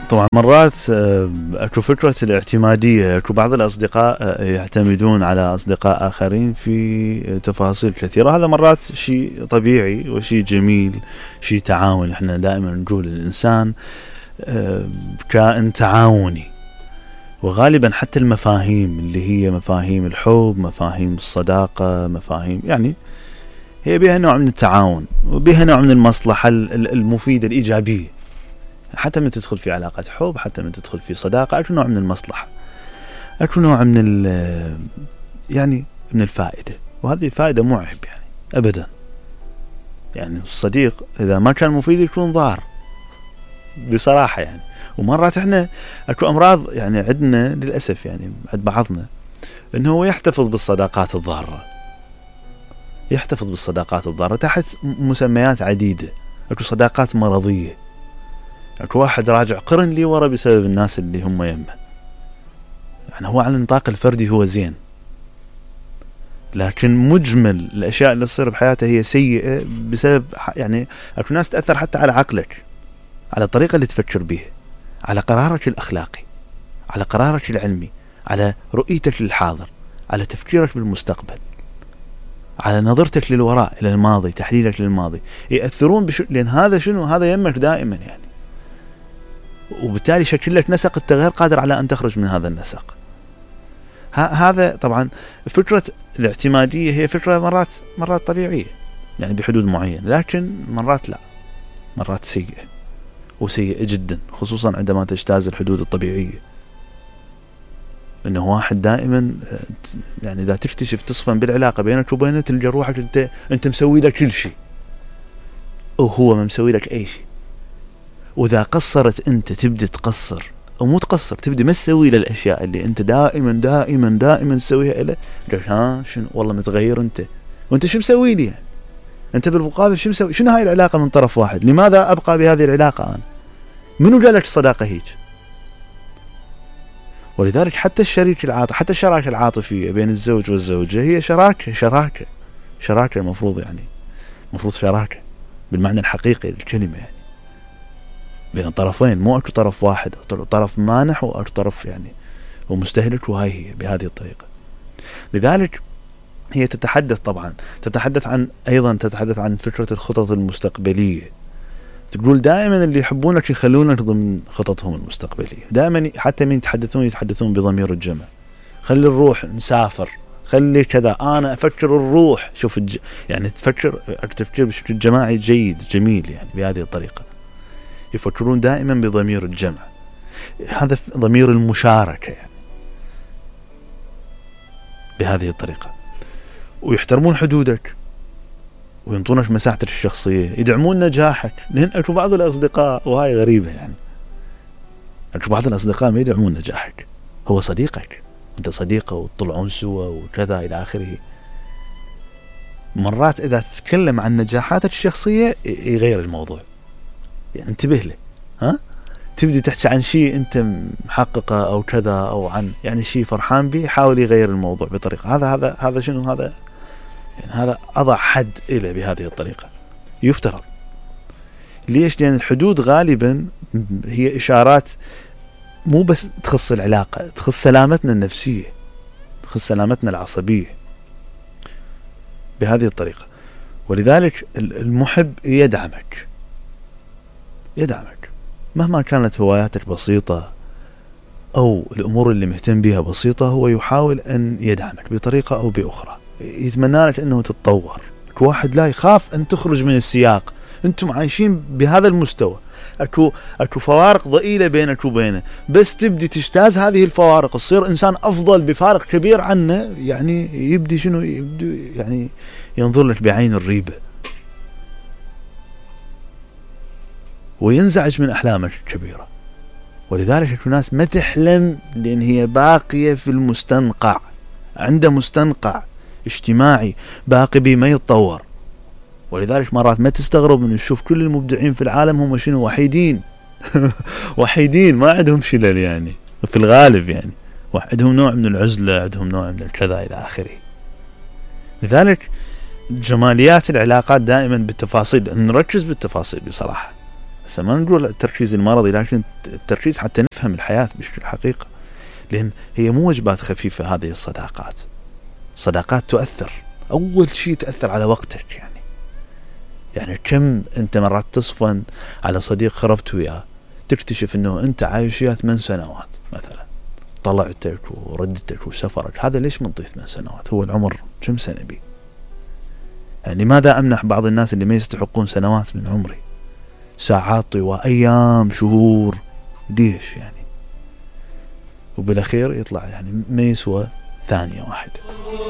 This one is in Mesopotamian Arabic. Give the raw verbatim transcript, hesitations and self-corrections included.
طبعا مرات اكو فكرة الاعتمادية، اكو بعض الاصدقاء يعتمدون على اصدقاء اخرين في تفاصيل كثيرة، هذا مرات شيء طبيعي وشيء جميل، شيء تعاون. احنا دائما نقول الانسان كائن تعاوني، وغالبا حتى المفاهيم اللي هي مفاهيم الحب، مفاهيم الصداقة، مفاهيم يعني هي بها نوع من التعاون وبها نوع من المصلحة المفيدة الإيجابية. حتى من تدخل في علاقة حب، حتى من تدخل في صداقة، أكو نوع من المصلحة، أكو نوع من يعني من الفائدة، وهذه فائدة مو عيب يعني أبدا. يعني الصديق إذا ما كان مفيد يكون ضار بصراحة يعني. ومرات احنا اكو امراض يعني عندنا للاسف يعني عند بعضنا انه هو يحتفظ بالصداقات الضارة، يحتفظ بالصداقات الضارة تحت مسميات عديدة. اكو صداقات مرضية، اكو واحد راجع قرن لي ورا بسبب الناس اللي هم يمه. يعني هو على النطاق الفردي هو زين، لكن مجمل الاشياء اللي تصير بحياته هي سيئة بسبب يعني اكو ناس تأثر حتى على عقلك، على الطريقة اللي تفكر بيها، على قرارك الأخلاقي، على قرارك العلمي، على رؤيتك للحاضر، على تفكيرك بالمستقبل، على نظرتك للوراء إلى الماضي، تحليلك للماضي. يأثرون بش... لأن هذا شنو؟ هذا يمك دائما يعني، وبالتالي شكل لك نسق أنت غير قادر على أن تخرج من هذا النسق. ه... هذا طبعا فكرة الاعتمادية هي فكرة مرات مرات طبيعية يعني بحدود معينة، لكن مرات لا، مرات سيئة وسيئة جدا، خصوصا عندما تجتاز الحدود الطبيعية. انه واحد دائما يعني اذا تكتشف تصفن بالعلاقة بينك وبينه تلقى روحك انت انت مسوي لك كل شيء وهو ما مسوي لك اي شيء. واذا قصرت انت تبدي تقصر، او مو تقصر، تبدي ما تسوي له الاشياء اللي انت دائما دائما دائما تسويها له. ها شنو والله متغير انت، وانت شو مسوي لي يعني؟ انت بالمقابل شو مسوي؟ شنو هاي العلاقة من طرف واحد؟ لماذا ابقى بهذه العلاقة انا؟ منو جالك الصداقة هيك؟ ولذلك حتى الشريك العاطفي، حتى الشراكة العاطفية بين الزوج والزوجة هي شراكة شراكة شراكة المفروض يعني مفروض شراكة بالمعنى الحقيقي للكلمة يعني بين الطرفين، مو اكو طرف واحد، طرف مانح واكو طرف يعني ومستهلك، وهاي هي بهذه الطريقة. لذلك هي تتحدث طبعا تتحدث عن أيضا تتحدث عن فكرة الخطط المستقبلية. تقول دائما اللي يحبونك يخلونك ضمن خططهم المستقبلية، دائما حتى من يتحدثون يتحدثون بضمير الجمع. خلي نروح نسافر، خلي كذا، أنا أفكر الروح. شوف الج... يعني تفكر تفكير بشكل جماعي جيد جميل يعني بهذه الطريقة. يفكرون دائما بضمير الجمع، هذا ضمير المشاركة يعني بهذه الطريقة. ويحترمون حدودك وينطونك مساحتك الشخصية، يدعمون نجاحك. لأن أكو بعض الأصدقاء، وهاي غريبة يعني، أكو بعض الأصدقاء ما يدعمون نجاحك، هو صديقك أنت صديقه وتطلعون سوا وكذا إلى آخره. مرات إذا تتكلم عن نجاحاتك الشخصية يغير الموضوع يعني، انتبه له. ها تبدي تحكي عن شيء أنت محققه أو كذا، أو عن يعني شيء فرحان به، حاول يغير الموضوع بطريقة هذا هذا هذا شنو هذا يعني؟ هذا أضع حد إلى بهذه الطريقة يفترض. ليش؟ لأن الحدود غالبا هي إشارات مو بس تخص العلاقة، تخص سلامتنا النفسية، تخص سلامتنا العصبية بهذه الطريقة. ولذلك المحب يدعمك يدعمك مهما كانت هواياتك بسيطة أو الأمور اللي مهتم بها بسيطة، هو يحاول أن يدعمك بطريقة أو بأخرى، يتمنى لك أنه تتطور. واحد لا يخاف أن تخرج من السياق، أنتم عايشين بهذا المستوى، أكو أكو فوارق ضئيلة بينك وبينه، بس تبدي تجتاز هذه الفوارق، تصير إنسان أفضل بفارق كبير عنه، يعني يبدي شنو يبدي يعني ينظر لك بعين الريبة وينزعج من أحلامك الكبيرة. ولذلك أكو ناس ما تحلم لأن هي باقية في المستنقع، عنده مستنقع اجتماعي باقي بي ما يتطور. ولذلك مرات ما تستغرب من نشوف كل المبدعين في العالم هم شنو؟ وحيدين وحيدين، ما عندهم شلل يعني في الغالب يعني، عندهم نوع من العزلة، عندهم نوع من الكذا إلى آخره. لذلك جماليات العلاقات دائما بالتفاصيل، نركز بالتفاصيل بصراحة. هسه ما نقول التركيز المرضي، لكن التركيز حتى نفهم الحياة بشكل حقيقة، لأن هي مو وجبات خفيفة. هذه الصداقات صداقات تؤثر، أول شيء تأثر على وقتك. يعني يعني كم أنت مرات تصفن على صديق خربت وياه، تكتشف أنه أنت عايش وياه ثمان سنوات مثلا، طلعتك وردتك وسفرك، هذا ليش منطي ثمان سنوات؟ هو العمر كم سنة بي؟ يعني لماذا أمنح بعض الناس اللي ما يستحقون سنوات من عمري، ساعات طوى، أيام، شهور، ليش يعني؟ وبالأخير يطلع يعني ما يسوى ثانية واحدة.